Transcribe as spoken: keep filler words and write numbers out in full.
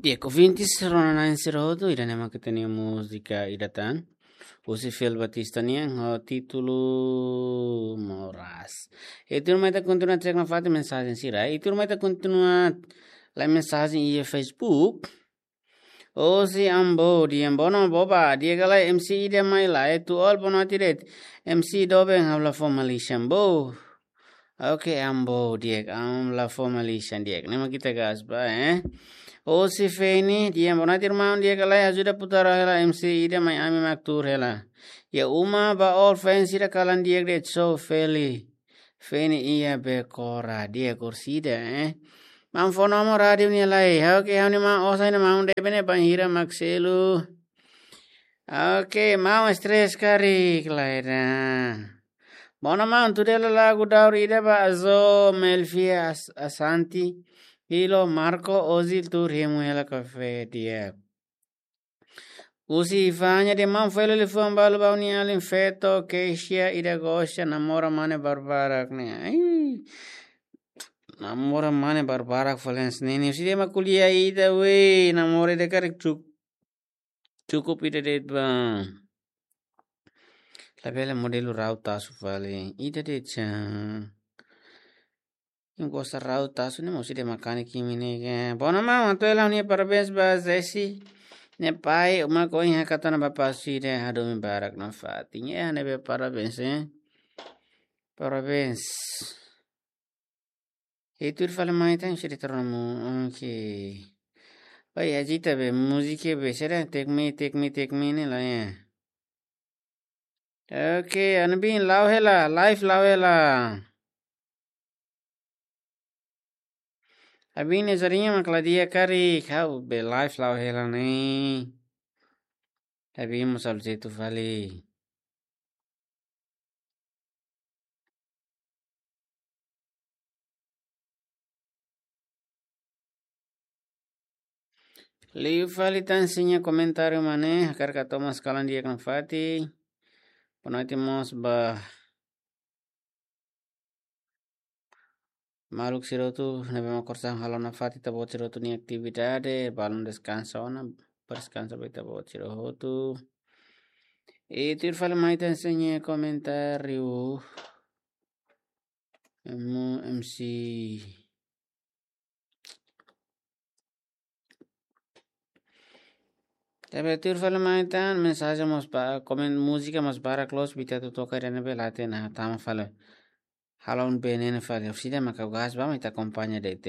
Di'ak, ouvintes, rona-na'in sira hotu, ida-ne'e mak ita-nia múzika ida tan. Husi Fel Batista nian, ho títulu Moras. I tuirmai ita kontinua cek nafatin mensajen sira. I tuirmai ita kontinua lai mensajen iha Facebook. Husi Ambo, di'ak, bono boba, di'ak ka lae, M C ida mai lae, atu halo bonote de'it. M C doben ha'u la fó malisan, Ambo. Oke, Ambo, di'ak, ha'u la fó malisan, di'ak. Ne'e mak ita gas ba, eh. Husi Feni, di'ak, bonote irmaun, di'ak ka lae, ajuda putar hela M C ida mai, ami mak tuur hela. Iha uma ba all fans sira kalan di'ak de'it, so Feli. Feni iha Bekora, di'ak, orsida, eh. Maun fó nomor rádiu nia lai. Oke, ha'u-nia maun, osan nia maun, debe ne'e bainhira mak selu. Oke, maun stress karik lae ida. Bono maun, tuda hela lagu daur ida ba Azo, Melfia, As-, Asanti, Ilo, Marco, Ozil, tuur hemu hela kafé, di'ak. Husi Ifanya, di'ak, maun, fó hela liafuan balu ba ha'u-nia alin feto, Keisha, ida gosta namora mane barbarak ne'e. Ai. Namora mane barbarak fali hanesan ne'e. Husi ida mak ko'alia ida, weh, namora ida karik cuk-, cukup ida de'it ba. Labele modelu rau tasu fali. Ida de'it sa. Imi gosta rau tasu ne'e, mós ida makanek imi ne'e ke. Bono maun, atu hela ha'u-nia parabéns ba Zesi nia pai, uma ko iha katana bapa sira hadomi barak nafatin. Ya, ne'ebé parabéns, eh. Parabéns. I tuir fali mai tan sira terus mu, oke. Oi, agita be, múzika be, sira take me, take me, take me ne'e lae, ya. Oke, Anubin la'o hela, live la'o hela. Abin nia jarinha mak la di'ak karik, ha'u be live la'o hela ne'e. Abin mós halo jeitu fali. Liu fali tan sira-nia komentáriu mak ne'e, hakarak atu mós kalan di'ak nafatin. Bonote mós ba maluk sira hotu ne'ebé mak orsida halo nafatin, ita-boot sira hotu nia atividade, balun deskansa ona, berdeskansa ba ita-boot sira hotu. I tuir fali mai tan sira-nia komentáriu. Emu M C. Tapi tuir fali mai tan, mensajen mós ba, komen, múzika mós barak loos, ita atu toka ida ne'ebé la hatene, tama fali. Halo un B N N fali, orsida maka gas ba, ita akompaña de'it.